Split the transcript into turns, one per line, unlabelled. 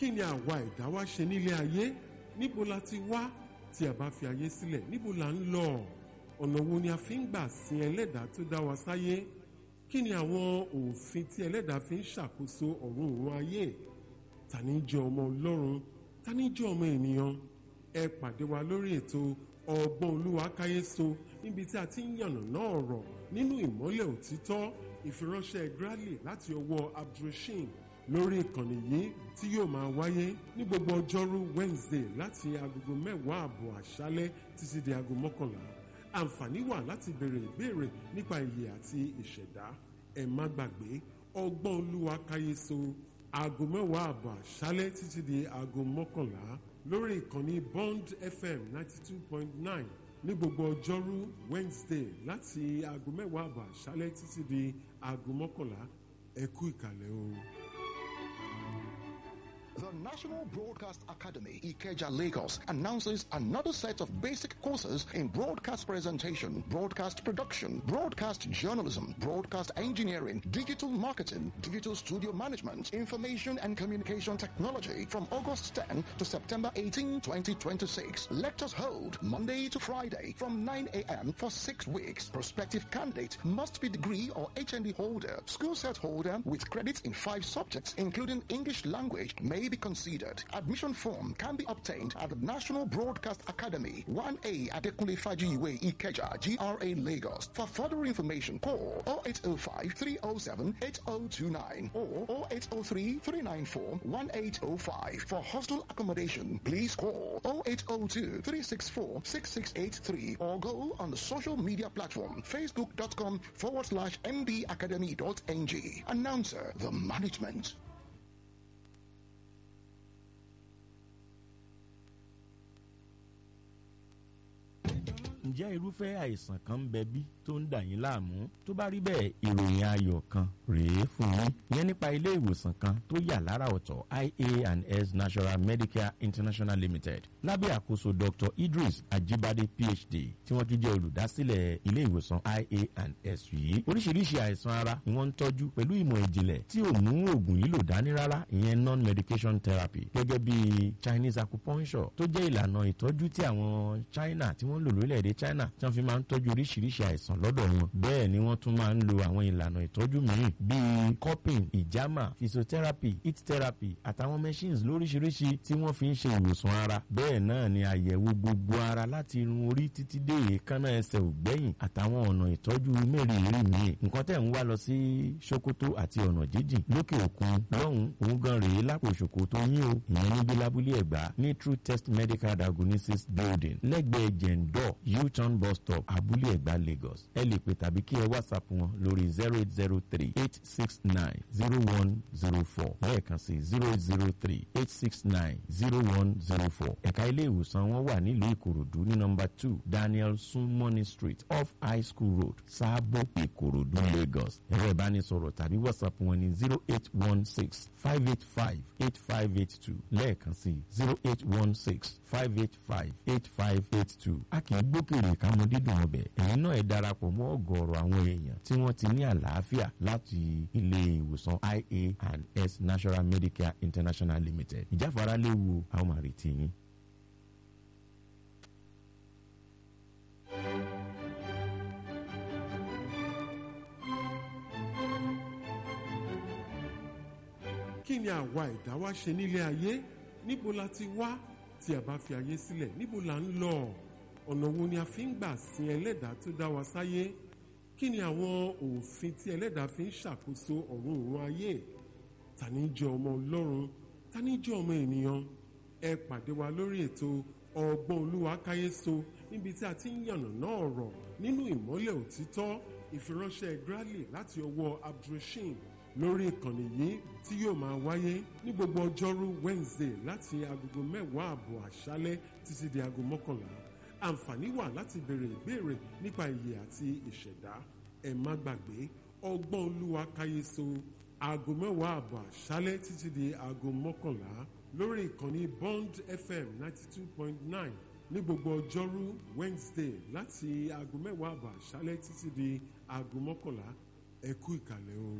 Kí ni àwa ẹ̀dá wa ṣe nílé ayé? Níbo la ti wá? Tí a bá fi ayé sílẹ̀, níbo la ń lọ? Ọ̀nà wo ni a fi ń gbà sin ẹlẹ́dàá tó dá wa sáyé? Kí ni àwọn òfin tí ẹlẹ́dàá fi ń ṣàkóso ọ̀run òun ayé? Ta ni jẹ́ ọmọ Ọlọ́run? Ta ni jẹ́ ọmọ ènìyàn? Ẹ pàdé wa lórí ètò Ọgbọ́n Olúwa Káyéso, níbi tí a ti ń yànnàná ọ̀rọ̀ nínú ìmọ́lẹ̀ òtítọ́. Ìfiránṣẹ́ Grally láti ọwọ́ Abdulrasheed lórí ìkànnì yìí tí yóò máa wáyé ní gbogbo ọjọ́rú Wednesday láti agogo 10:30 àṣálẹ́ títí di aago 11. Àǹfààní wà láti béèrè ìbéèrè nípa ìyè àti ìṣẹ̀dá. Ẹ má gbàgbé, Ọgbọ́n Olúwa Káyéso, aago 10:30 àṣálẹ́ títí di aago 11 lórí ìkànnì Bond FM 92.9 ní gbogbo ọjọ́rú Wednesday láti aago 10:30 àṣálẹ́ títí di aago 11. Ẹ kú ìkàlẹ̀ o.
The National Broadcast Academy, Ikeja, Lagos, announces another set of basic courses in broadcast presentation, broadcast production, broadcast journalism, broadcast engineering, digital marketing, digital studio management, information and communication technology from August 10 to September 18, 2026. Lectures hold Monday to Friday from 9 a.m. for 6 weeks. Prospective candidate must be degree or HND holder, school set holder with credits in five subjects, including English language, may be considered. Admission form can be obtained at the National Broadcast Academy, 1A Adekunle Fajiwe, Ikeja, GRA, Lagos. For further information, call 0805 307 8029 or 0803 394 1805. For hostel accommodation, please call 0802 364 6683 or go on the social media platform facebook.com/mbacademy.ng. Announcer, the management.
Ǹjẹ́ irúfẹ́ àìsàn kan ń bẹ bí tó ń dà yín láàmú? Tó bá rí bẹ́ẹ̀, ìròyìn ayọ̀ kan rèé fún yín, yẹn nípa ilé ìwòsàn kan tó yà lára ọ̀tọ̀, ia and S National Medicare International Limited, lábẹ́ àkóso Dr. Idris Ajibade, PhD, tí wọ́n tún jẹ́ olùdásílẹ̀ ilé ìwòsàn ia and S yìí. Oríṣiríṣi àìsàn ara ni wọ́n ń tọ́jú pẹ̀lú ìmọ̀ ìjìnlẹ̀ tí ò mú oògùn lílò dání rárá, ìyẹn non-medication therapy, gẹ́gẹ́ bí Chinese acupuncture, tó jẹ́ ìlànà ìtọ́jú tí àwọn China tí wọ́n ń lò lórílẹ̀‐èdè China, tí wọ́n fi máa ń tọ́jú oríṣiríṣi àìsàn lọ́dọ̀ wọn. Bẹ́ẹ̀ ni wọ́n tún máa ń lo àwọn ìlànà ìtọ́jú mìíràn bíi cupping, ìjàmà, physiotherapy, heat therapy àtàwọn machines lóríṣiríṣi tí wọ́n fi ń ṣe ìwòsàn ara. Bẹ́ẹ̀ náà ni àyẹ̀wò gbogbo ara láti irun orí títí dé èékánná ẹsẹ̀ ògbẹ́yìn, àtàwọn ọ̀nà ìtọ́jú mẹ́rìnmírì míì. Nǹkan tẹ̀ ń wá lọ sí Sokoto àti ọ̀nà jíjìn lókè òkun lọ́hùn òun gan rèé lápò Sokoto yín o, ìyẹn níbi lábúlé Ẹ̀gbá ní True Test Medical Diagnosis Building, lẹ́gbẹ̀ẹ́ Jẹ̀ǹdọ̀ U-turn bus stop, Abúlé Ẹ̀gbá, Lagos. Ẹ lè pè tàbí kí ẹ WhatsApp wọn lórí 08038690104, lẹ́ẹ̀kan sí, 08038690104. Ẹ̀ka ilé ìwòsàn wọn wà nílùú Ìkòròdú ní nọ́mbà 2 Daniel Sunmoney Street, off High School Road, Sáàbò, Ìkòròdú, Lagos. Ẹ̀rọ ìbánisọ̀rọ̀ tàbí WhatsApp wọn ní 08165858582, lẹ́ẹ̀kan sí, 08165858582. A kì í gbókèrè ká mọ dídùn ọbẹ̀. Ẹ̀yin náà ẹ darapọ̀ mọ́ ọ̀gọ̀ọ̀rọ̀ àwọn èèyàn tí wọ́n ti ní àlàáfíà láti ilé ìwòsàn ia and S National Medicare International Limited. Ìjáfara léwu, àwọn máa retí yín.
Kí ni àwa ẹ̀dá wa ṣe nílé ayé? Níbo la ti wá? Tí a bá fi ayé sílẹ̀, níbo la ń lọ? Ọ̀nà wo ni a fi ń gbà sin ẹlẹ́dàá tó dá wa sáyé? Kí ni àwọn òfin tí ẹlẹ́dàá fi ń ṣàkóso ọ̀run òun ayé? Ta ni jẹ́ ọmọ Ọlọ́run? Ta ni jẹ́ ọmọ ènìyàn? Ẹ pàdé wa lórí ètò Ọgbọ́n Olúwa Káyéso, níbi tí a ti ń yànnàná ọ̀rọ̀ nínú ìmọ́lẹ̀ òtítọ́. Ìfiránṣẹ́ Grally láti ọwọ́ Abdulrasheed lórí ìkànnì yìí tí yóò máa wáyé ní gbogbo ọjọ́rú Wednesday láti agogo 10:30 àṣálẹ́ títí di aago 11. Àǹfààní wà láti béèrè ìbéèrè nípa ìyè àti ìṣẹ̀dá. Ẹ má gbàgbé, Ọgbọ́n Olúwa Káyéso, aago 10:30 àṣálẹ́ títí di aago 11 lórí ìkànnì Bond FM 92.9 ní gbogbo ọjọ́rú Wednesday láti aago 10:30 àṣálẹ́ títí di aago 11. Ẹ kú ìkàlẹ̀ o.